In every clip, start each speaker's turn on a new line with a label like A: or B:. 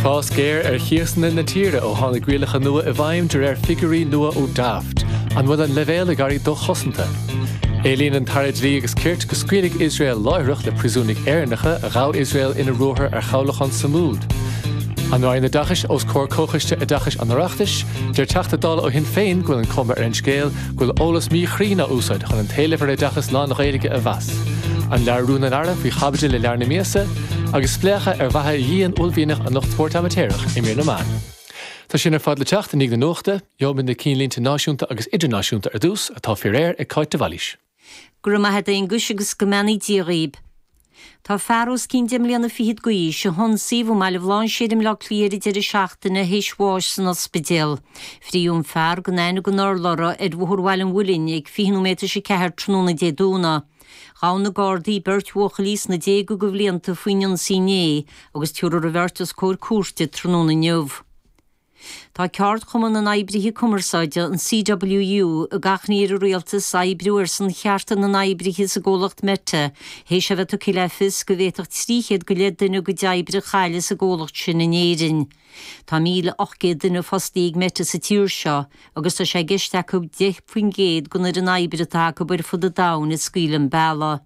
A: Fás géar ar chíosanna na tíre ó tháinig rialacha nua i bhfeidhm de réir figiúirí nua ó Daft. An bhfuil an leibhéal ag éirí dochosanta? Éilíonn an tAire Dlí agus Cirt go scaoilfidh Iosrael láithreach le príosúnaigh Éireannacha a ghabh Iosrael ina ruathar ar chabhlachán Sumud. An Roinn Oideachais os comhair Comhchoiste Oideachais an Oireachtais, deir Teachta Dála ó Shinn Féin go bhfuil an cuma ar an scéal go bhfuil eolas míchruinn á úsáid chun an t-éileamh ar oideachas lán-Ghaeilge a mheas. An Leabhar Rún an Aire faoi chaibidil i leabhar na míosa, agus spléachadh ar bheatha dhian uaillmhianach an lucht spóirt amaitéarach i mír na meán. Tá sin ar fad le teacht i ndiaidh na nuachta. Gheobhaimid na cinnlínte náisiúnta agus idirnáisiúnta ar dtús, atá faoi réir ag Cáit de Bhailís.
B: Go raibh maith a't a Aonghuis agus go mbeannaí Dia dhaoib. Tá fear os cionn deich mbliana fichead d'aois, a hionsaíodh i mBaile Bhlainséir i mBleá Cliath ar an deireadh seachtaine, théis bháis san ospidéal. Frítheadh an fear gan aithne den urlabhra ar Bhóthar Bhaile an Mhuilinn ag 20 nóiméad tar éis a ceathair tráthnóna Dé Domhnaigh. Ghabh na Gardaí beirt bhuachaillí sna déaga de bhlianta faoin ionsaí inné agus tabharfar an bheirt os comhair cúirte tráthnóna inniu. Tá Ceardchumann na nOibrithe Cumarsáide, an CWU, ag achainí ar an Rialtas oibriú ar son chearta na n-oibrithe sa gcomhlacht Meta, théis a bheith tugtha le fios go bhféadfadh 300 go leith duine a gcuid oibre a chailleadh sa gcomhlacht sin in Éirinn. Tá 1,800 duine fostaithe ag Meta sa tír seo agus tá sé i gceist acu 10% den fhoireann oibre atá acu ar fud an domhain a scaoileadh an bealach.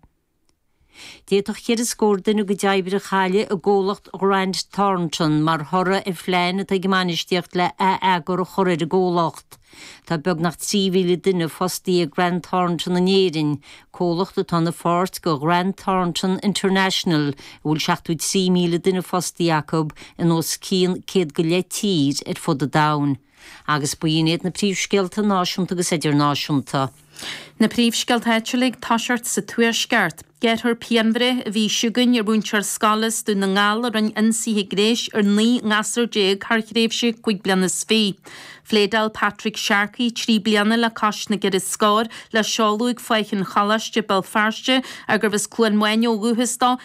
B: D'fhéadfadh cheithre scór duine a gcuid oibre a chailleadh i gcomhlacht Grant Thornton mar thoradh ar phlean atá ag a mbainistíocht le ath-eagar a chur ar an gcomhlacht. Tá beagnach 3,000 duine fostaithe ag Grant Thornton in Éirinn, comhlacht atá ina pháirt de Ghrant Thornton International a bhfuil 73,000 duine fostaithe acu in os cionn 100 go leith tír ar fud an domhain. Agus b'in iad na príomhscéalta náisiúnta agus idirnáisiúnta.
C: Na príomhscéalta áitiúla ag toiseacht sa Tuaisceart. Gearrfar pianbhreith an mhí seo chugainn ar mhúinteoir scoile as Dún na nGall a rinne ionsaithe gnéis ar 19 ngasúr thar thréimhse cúig bliana is fiche. Phléadáil Patrick Sharkey, 3 bliana le cois na gceithre scór, le seoladh ag Faiche an Choláiste, Béal Feirste, ach gurbh as Cluain Mhaine ó dhúchas dó.